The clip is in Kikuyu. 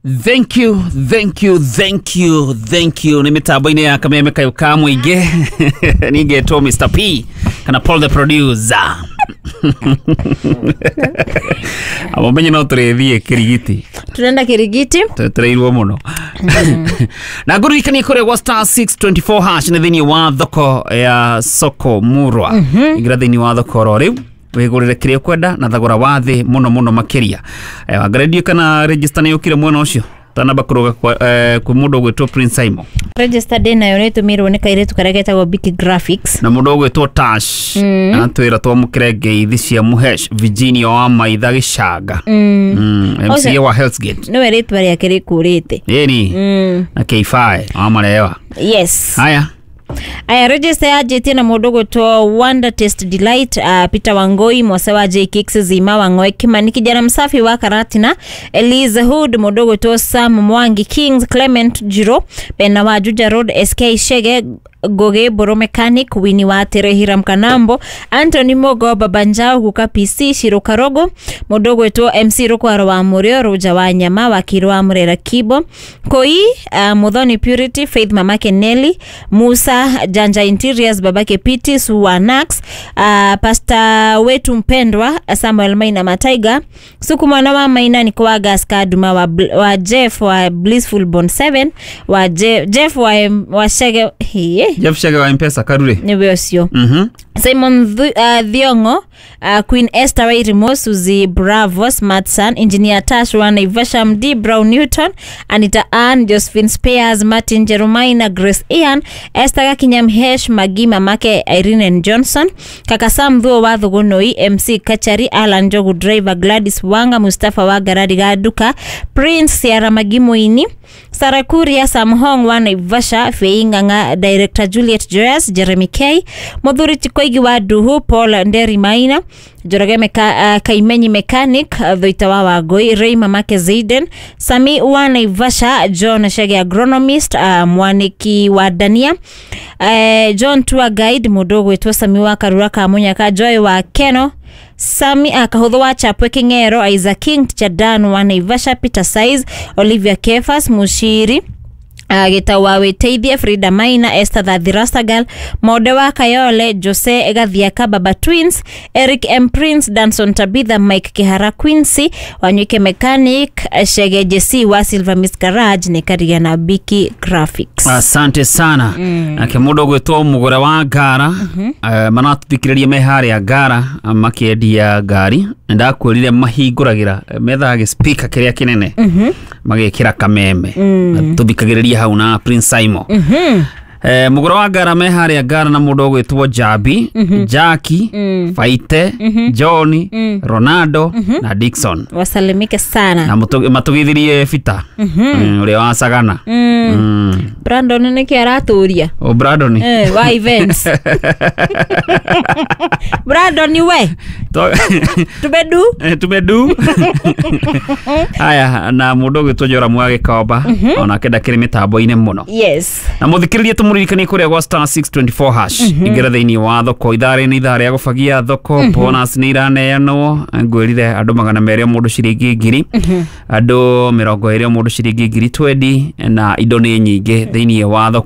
Thank you, thank you, thank you, thank you. Nä mä tambo-inä ya kameme kayå ka må ingä ningetwo Mr P kana Paul the producer. Amo menye no tå rä thiä kä rigiti. Tunaenda Kirigiti. Twetereirwo må no na ngũririkanie kũrĩa gwa star 624 hash nĩ thĩinĩ wa thoko ya soko murwa. Ingĩra thĩinĩ wa thoko oro rĩu wĩgũrĩre kĩrĩa ũkwenda na thogora wa thĩ mũno mũno makĩria. Wangarendio kana register nĩ yũkire mwena ũcio tanamba kũrũga kwĩ mũndũ ũgwĩtwo Prince Simon. Register day nayo nä tå nä kairä karĩa getagwo Biki Graphics. Na mũndũ ũgwĩtwo Tash atwĩra twamũkĩre ngeithi cia Mũhesh Virginia wa Maitha Gĩcanga, MCA wa Hell's Gate. Nä we rä twa rä ake rä kå rä te. Ĩni na K5 wa Marewa. Yes. Haya. Aya, register yanjĩtie na mũndũ gwĩtwo Wonder Taste Delight, Peter Wangoi Mwase wa J Kicks, Zima Wang'oe Kimani kijana msafi wa Karatina, Elise Hood, mũndũ gwĩtwo Sam Mwangi Kings, Clement Jiro Bena wa Juja Road, SK Shege Goge Boro Mechanic, Winnie wa Terehiram Kanambo, Anthony Mogo Babanjao Guka PC Shiro Karogo, mũndũ gwĩtwo MC Rukwaro wa Mũrĩo, Rũja wa Nyama Wakiri wa Mũrera Kibo Koi, Muthoni Purity Faith Mamake Nelly Musa Janja Interiors Babake Piti Suwanax, Pastor wetu mpendwa Samuel Maina Mataiga Suku mwana wa Maina Nikowa Gaska Duma wa Jeff wa Blissful Bond 7 wa Jeff wa Shege hiye. Jeff Shege wa Mpesa Karure. Nĩwe ũcio. Simon Thiongo, Queen Esther Wairimo, Suzy Bravo, Smart Son, Engineer Tash wa Naivasha, MD Brown Newton, Anita Ann, Josephine Spears, Martin Jeremiah, Grace Ian, Esther Gakinya Mhesh, Magi Mamake, Irene and Johnson, Kaka Sam Thuo wa Thugunui, MC Kachari, Alan Jogu Driver, Gladys Wanga, Mustafa wa Garari Gaduka, Prince Sierra Magi Muini, Sarah Kuria, Sam Hong wa Naivasha, Fei Ng'ang'a, Director Juliet Joyce, Jeremy K, Muthuri Chikoigi wa Duhu, Paul Nderi Maina, Njoroge Kaimenyi Mechanic, Thuita wa Wangui, Ray Mamake Zaiden, Sami wa Naivasha, John Shege Agronomist, Mwaniki wa Dania, John Tour Guide, mũndũ ũgwĩtwo Sami wa Karura ka Munyaka, Joy wa Keno, Sami Kahuthu wa Chapwe King'ero, Isaac King, Chadan wa Naivasha, Peter Size, Olivia Kefas, Mushiri Gĩtau wa Wĩteithie, Frida Maina, Esther Thathirastagal, Monde wa Kayole, Jose Gathiaka, Baba Twins, Eric M Prince, Danson Tabitha, Mike Kihara Quincy, Wanywike Mechanic, Shege JC wa Silver Miss Garage, nĩ Karia na Biki Graphics. Asante sana. Nake mũndũ ũgwĩtwo mũgũra wa ngara, maratũthikĩrĩria me harĩa ngara makĩendia ngari. Ndakwĩrire mahingũragĩra methaga gĩspika kĩrĩa kĩnene magĩkĩra kameme. Tũthikagĩrĩria hau na Prince Simon. Mũgũra wa ngara me harĩa ngara na mũndũ ũgwĩtwo Jabi, Jackie, Faite, John, Ronaldo na Dixon. Wasalimike sana. Na matũgithirie Bita ũrĩa wa Sagana. Brandon nĩkĩ aratũria? O Brandon. Wa events. Brandon we. Tumedu. Tumedu. Aya, na mũndũ ũgwĩtwo Joramu wa Gĩkomba onake ndakĩrĩ mĩtambo-inĩ mũno. Yes. Na mũthikĩrĩrie tũmũririkanie kũrĩa gwa star 624 hash. Ingĩra thĩinĩ wa thoko ithaa rĩ nĩ ithaa rĩa gũbagia thoko. Bonus nĩ iraneanwo. Ngwĩrire andũ 200 mũndũ ciringi 1000, andũ 20 mũndũ ciringi 20,000, na indo nĩ nyingĩ thĩinĩ wa thoko.